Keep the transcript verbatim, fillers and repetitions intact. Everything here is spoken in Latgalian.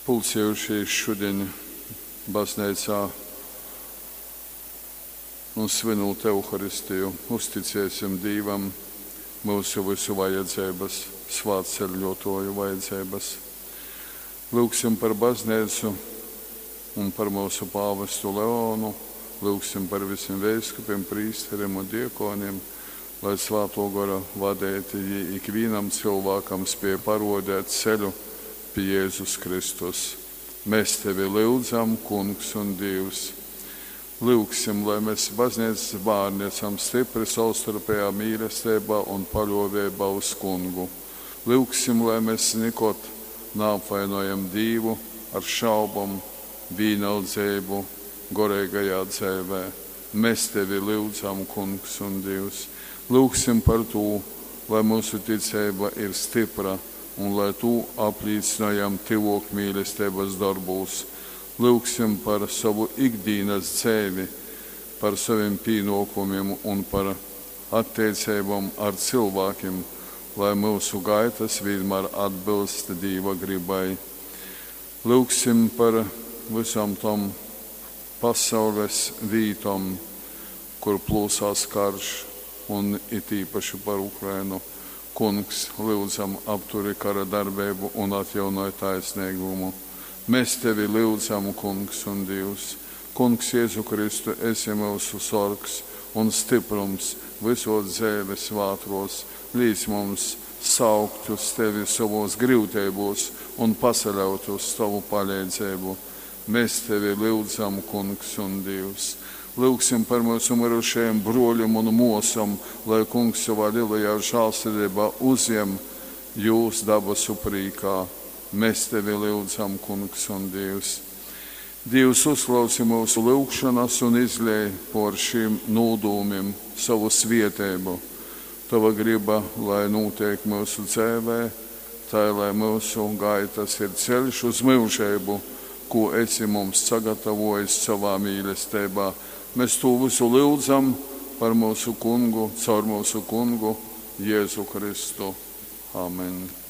Pulcējušīs šudiņ bazneicā un svinūt Euharistiju, uzticēsim Dīvam myusu vysu vajadzeibas, svātceļōtōju vajadzeibas. Lyugsim par bazneicu un par myusu pāvestu Leonu, lyugsim par visim veiskupim, prīsterim un diekonim, lai Svātō Gora vadeiti jī ikvīnam cylvākam spēj parodēt ceļu pi Jēzus Kristus. Mēs tevi lyudzam, Kungs un Dīvs. Lyugsim, lai mēs bazneicas bārni esam stipri savstarpējā mīlestībā un paļoveibā uz Kungu. Lyugsim, lai mēs nikod neapvainojam Dīvu ar šaubom, vīnaldzeibu goreigajā dzēvē. Mēs tevi lyudzam, Kungs un Dievs. Lyugsim par tū, lai mūsu ticeiba ir stipra un lai tū aplīcinojam tyvok mīlestības darbūs. Lyugsim par savu ikdienas dzēvi, par saviem pienākumiem un par attiecībām ar cilvēkiem, lai mūsu gaitas vienmēr atbilst Dieva gribai. Lyugsim par visām tom pasaules vītom, kur plūsās karš, un it īpaši par Ukrainu. Kungs, lyudzam, apturi kara darbību un atjaunoj taisnīgumu. Mēs tevi lyudzam, Kungs un Dievs. Kungs Jēzu Kristu, esi mūsu sorgs un stiprums visos dzēves vātros. Līdz mums saukt uz tevi savos grūtībos un pasaļaut uz tavu palīdzību. Mēs tevi lyudzam, Kungs un Dievs. Lūgsim par mūsu mirušajiem broļiem un mosam, lai Kungs savā lielajā žālsirdībā uzņem jūs dabasu prīkā. Mēs tevi lyudzam, Kungs un Dievs. Dievs uzklausi mūsu lūgšanas un izlej por šīm nūdūmim savu svietēbu. Tava griba, lai notiek mūsu dzēvē, tā lai mūsu gaitas ir ceļš uz mūžību, ko esi mums sagatavojis savā mīlestībā. Mēs to visu lūdzam par mūsu kungu, caur mūsu kungu Jēzu Kristu. Amen.